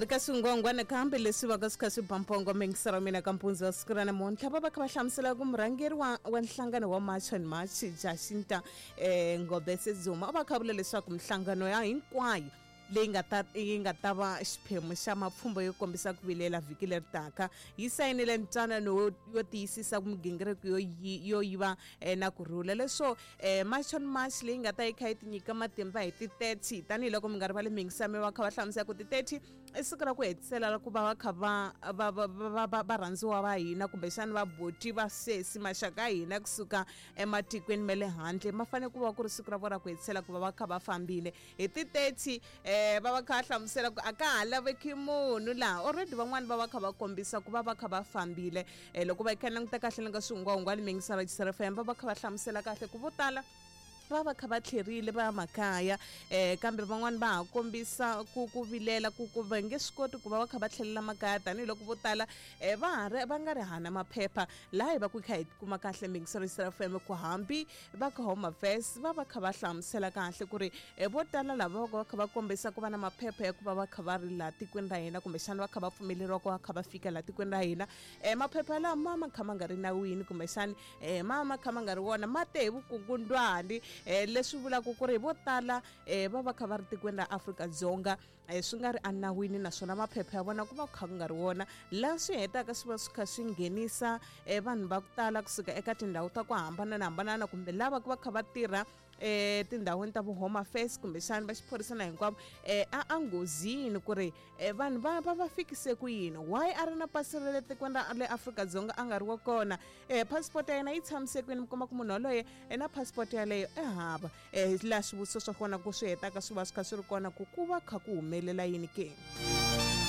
Ha ri ka swingwangwana kambe leswi va ka swi kha swi ba mpongo mingisero wa mina ka mpundzu wa siku ra namuntlha va va kha va hlamusela ku murhangeri wa, wa nhlangano wa March and March Jacinta Ngobese Zuma u va kha vula leswaku minhlangano ya hinkwayo leyi nga ta yi nga ta va xiphemu xa mapfhumba yo kombisa ku vilela vhiki leri taka yi sayinile ntwanano yo tiyisisa ku migingiriko yo yo yiva na ku rhula. Leswo March on March leyi nga ta yi kha yi tinyika matimba hi ti 30, tanihiloko mi nga rivali mingisami va kha va hlamusela ku ti 30 i siku ra ku hetisela ra ku va va kha va va va va va va rhandziwa va hina kumbexana va boti va sesi maxaka ya hina kusuka ematikweni ma le handle, ma fanele ku va ku ri siku ra vona ra ku hetisela ku va va kha va fambile hi ti 30. Va va kha va hlamusela ku a ka ha laveki munhu laha, already van'wani va va kha va kombisa ku va va kha va fambile. Loko va kha languta kahle na ka swihungwahungwani mingisara FM va va kha va hlamusela kahle ku vo tala va va kha va tlherile va ya makaya, kambe van'wani va ha kombisa ku vilela ku va nge swi koti ku va va kha va tlhelela makaya tanihiloko vo tala va ha ri va nga ri hana maphepha. Laha hi va ku kha hi kuma kahle mingisero FM ku hambi va ka Home Affairs va va kha va hlamusela kahle ku ri vo tala lava va kha va kombisa ku va na maphepha ya ku va va kha va ri laha tikweni ra hina kumbexana va kha va pfumeleriwa ku va kha va fika laha tikweni ra hina, maphepha lawa ma ma kha ma nga ri nawini kumbexana ma ma kha ma nga ri wona, ma te hi vukungundwani, leswi vulaka ku ri vo tala va va kha va ri tikweni ra Afrika-Dzonga swi nga ri enawini, naswona maphepha ya vona ku va ku kha ku nga ri wona, laha swi hetaka swi va swi kha swi nghenisa vanhu va ku tala kusuka eka tindhawu ta ku hambanahambana kumbe lava ku va kha va tirha tindhawini ta vo Home Affairs kumbexana va xiphorisa na hinkwavo a nghozini ku ri vanhu va va va fikise ku yini, why a ri na pasi ra le tikweni ra le Afrika-Dzonga a nga ri wa kona, passport ya yena yi tshamise kwini, mi kuma ku munhu yaloye na passport yaleyo e hava. Laha swivutiso swa kona ku swi hetaka swi va swi kha swi ri kona ku ku va kha ku humelela yini ke.